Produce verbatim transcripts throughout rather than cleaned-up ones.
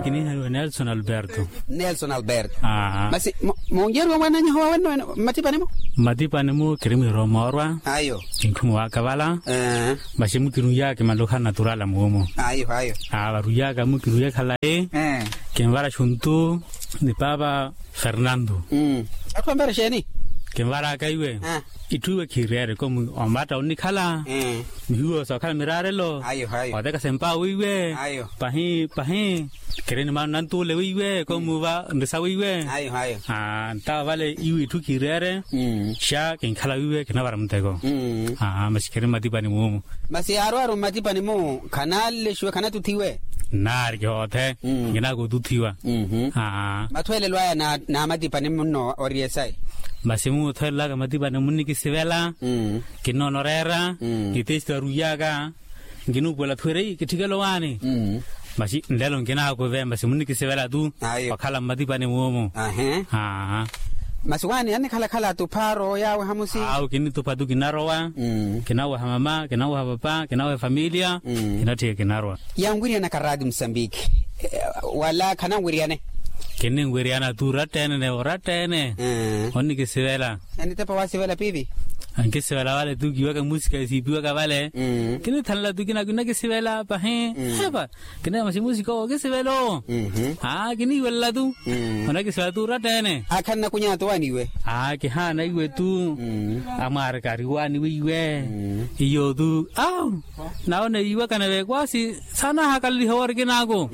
Kiniihaliwa nelson alberto. Nelson alberto. Masi muunjeriwa mwananyaho wawenno? Mmatipani-mu. Mmatipani-mu kiri mwirowa moorwa. Ayo. Kintthuma wakavala. Masi mukiruya kimalukha naturala muumu. Ayo ayo. Varuyaka mukiruya khalayi. Kinvara xuntu ni paapa fernando. Atthu anvara exeeni? Kinvaraka iwe. Itthu iwe khiireere komu omatta onnikhala. Mihiwo sookhala miraarelo. Otekasa empawo iwe. Pahi pahi. Kiri ni maana nantuule weiwe komuva nrisa weiwe. Ntawa vale iwe itthu khiireere. Xa kinkhala weiwe kinavara muteko. Masi kiri mmatipani muumu. Masi yaarwaaru mmatipani-mu khanalexiwe khanatuthiwe. Nnaari kihoothe. Nkinaaka otuthiwa. Mathweelelo aya n'amatipani munno ori esayi. Masi muthweelelaka matipani munnikisivela. Kinnoonoreera. Itesti aruyaka. Nkinuupuwela thuwere kitthikelo waani. Masi nlelo nkinaakuve masi munnikisivela tu. Wakhala mmatipani muumu. Masi waani annikhalakhala atuphaaro yaawe hamusi. Awo kinnitupha tu kinarowa. Kinaweha mama kinaweha papa kinaweha efamiliya. Kinatthiya kinarowa. Yanwiryanaka raati musambiki? Wala khananwiryane. Kinninwiryana tu oratta-ene oratta-ene. Onnikisivela. Anitepa wasivela piipi. Ankisivela vale tu kiwaka musika esiipiwaka vale. Kinithanela tu kinakinakisivela pahi. Epa. Kineema simusika owo okisivela-o. Aa kiniiwelela tu. Onakisivela tu oratta-ene. Akhannakunyaka tu waani iwe. Aa kihaana iwe tu. Amwaarika ari waani weiwe. Iyo tu. Nawo neyiwakana vekwasi. Saana ahakalaliha wori kinaako.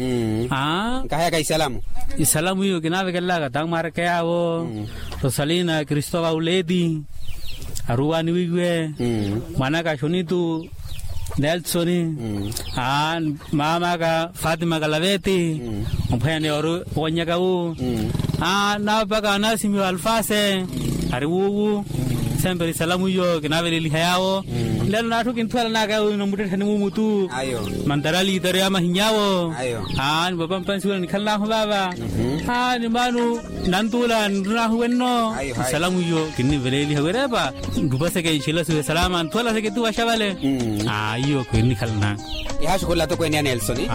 Aa. Nkahayaka isalamu. Isalamu iyo kinaavekelelaka tamwaareke yaawo. Rosalina kristovauleti. Aruwaani weiwe. Mwanaka xonitu. Nelsoni. Aa. Maamaka fatima kalaveti. Ophwene ori owanyaka wu. Aa naapaka anasimiwa alfase. Ari wuuwu. Semperi salamu iyo kinaaveleliha yaawo. Nlelo naatthu kinthuwela naka yaawo ino muttettheni muumu tu. Mantarali itari ya mahiny'awo. Aa ni papa mpansi wela nikhalan'ahu vaava. Aa ni maanu nantuula nrun'ahu wenno. Salamu iyo kinniveleliha wirepa. Nrupaseke nxilasiwe salama nthuwelaseke tu vaxa vale. Aa iyo kinnikhalan'ahu. Ihaxukhula atokweene ya nelsoni.